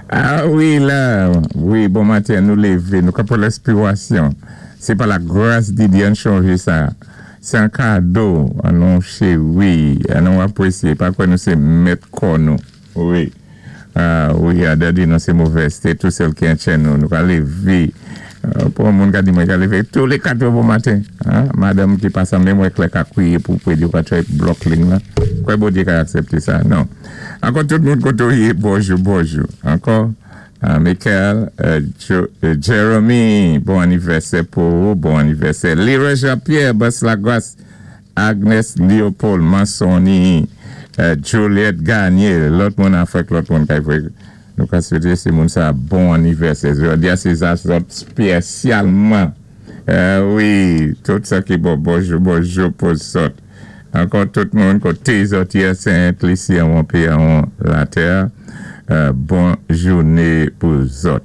Ah wi la, wi, bon maten, nou lévé, nou ka pwan lenspiwasyon. Sé pa la gras di Dye, ann chonjé sa. Sé an kado, an nou chéwi, an nou apwésyé, pa kwè nou sé mèt kò nou. Wi. Ah wi, Adan di nou sé movèzté, tou sèl ki an nou, nou ka lévé. Pou an moun ka di mwen ka lévé tou lé 4 è bon maten. Madanm ki pa sanblé mwen klè ka kwiyé pou pwé di ou ka try block ling la. Kwè Bondyé ka aksépté sa? Non. Ankò tout moun koté ou yé, bonjou, bonjou. Ankò, Michael, Jeremy, bon anivèsè pou ou, bon anivèsè. Leroy Jean-Pierre, Bas Lagras, Agnes Léopold, Mansoni, Juliette Gagné, lòt moun afèk lòt moun kay vwé nou ka swété sé moun sa bon anivèsè. Jòdi a sé sa zòt spésyalman. Wi, tout sa ki bon, bonjou, bonjou pou zòt. Ankò tout moun koté zòt yé Sent Lisi anwon péyi anwon latè, bon jouné pou zòt.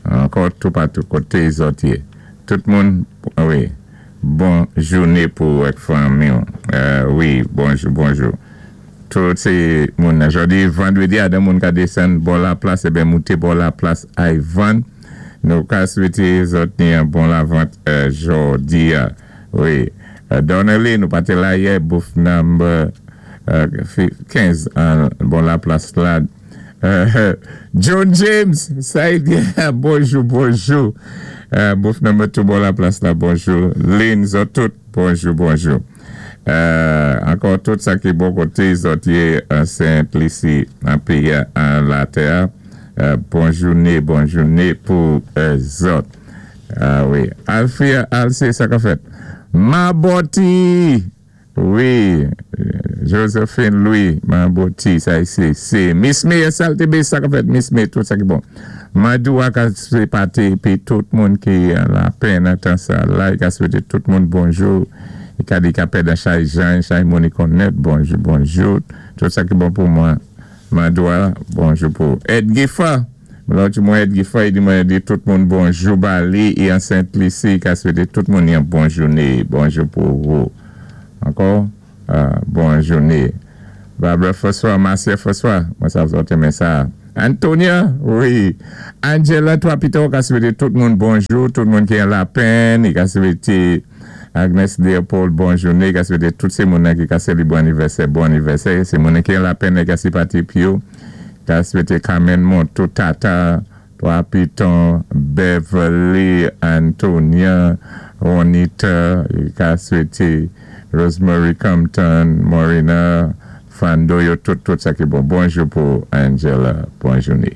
Ankò toupatou koté zòt yé. Tout moun, wi, bon jouné pou ou ak fanmi ou. Wi, bonjou, bonjou. Tout sé moun nan. Jòdi vandwédi adan moun ka désann bò laplas eben mouté bò laplas ay vann. Nou ka swété zòt ni an bon lavant jòdi a. Wi. Donnelly, nou pa té la yè, booth number 15 an bò laplas la. John James, sa y byen, bonjou, bonjou. Booth number 2 bò laplas la, bonjou. Lynn, zòt tout, bonjou, bonjou. Ankò tout sa ki bon koté zòt yé an Sent Lisi an péyi an latè bon jouné, bon jouné pou zòt. Ah wi. Alfia Alcé, sa ka fèt? Mabòti! Wi, Josephine Louis, Mabòti, sa sé sé Miss May, sa ka fèt Miss May, tout sa ki bon. Madou a ka sé pati pi tout moun ki an lapenn an tan sa la, i ka swété tout moun bonjou. I ka di ka pèdan chay jan, chay moun i konnèt, bonjou, bonjou. Tout sa ki bon pou mwen, Madou a, bonjou pou Ed Giffard. Lòt mwen Ed Giffard, i di mwen di tout moun bonjou ba li, i an Sent Lisi, i ka swété tout moun yon bon jouné, bonjou pou ou. Ankò, bon jouné. Barbara François, Marcia François, mwen sav zòt renmen sa. Antonia, wi. Angela Trois ka swété tout moun bonjou, tout moun ki an lapenn, i ka swété Agnes Léopold, bon jouné, i ka swété tout sé moun ki ka sélébré anivèsè, bon anivèsè, sé moun ki an lapenn, i ka sipati pi yo, ka swété Carmen Montou, Tata, Trois Pitons, Beverly, Antonia, Juanita, i ka swété Rosemary Compton, Morena, Fando, yo tout, tout sa ki bon. Bonjou pou Angela, bon jouné.